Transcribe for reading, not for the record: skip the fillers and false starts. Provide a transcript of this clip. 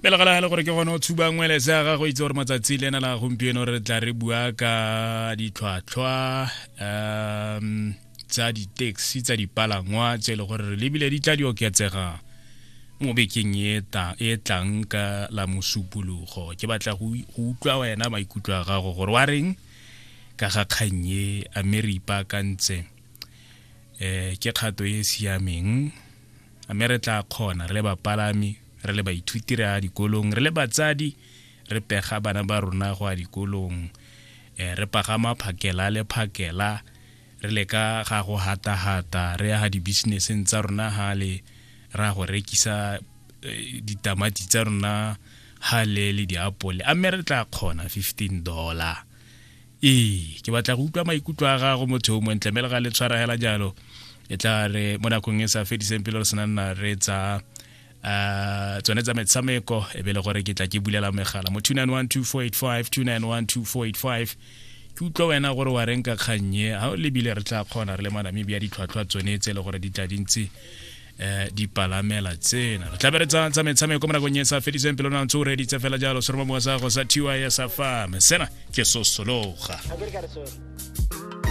Pele ga le gore ke gone o tshuba ngwele se ga go itse gore matsatsi le ena la gompieno re tla re bua ka ditlhwatlhwa tsa di-taxi, tsa dipalangwa tse e le gore re lebile di tla di oketsega mo bekeng e e tlang ka la Mosupologo. Ke batla go utlwa wena maikutlo a gago gore wa reng ka ga kgang e, a mme re ipaakantse, ke kgato e e siameng, a mme re tla kgona re le bapalami, re le baithuti re ya dikolong, re le batsadi re pega bana ba rona go ya dikolong, re pagama phakela le phakela, re leka ga go hata-hata, re ya ga di-businesseng tsa rona hale, ra go rekisa ditamati tsa rona hale le diapole, a mme re tla kgona $15? Ee, ke batla go utlwa maikutlo a gago motho o montle, mme le ga le tshwara hela jalo, e tla re mo nakong e sa fediseng pelo re sena nna re tsa tsone tsa metshameko, e be le gore ke tla ke bulela megala mo 2912485, 2912485. Ke utlwa wena gore wa reng ka kgannye, ga o lebile re tla kgona re le Manamibia ditlhwatlhwa tsone tse e le gore di tla dintsi dipalamela tsena. Re tla be re tsa metshameko mo nakong e sa fediseng pelo, na ntse o reditse fela jalo seromamowa sa go sa TYS farm. Sena ke Sosologa.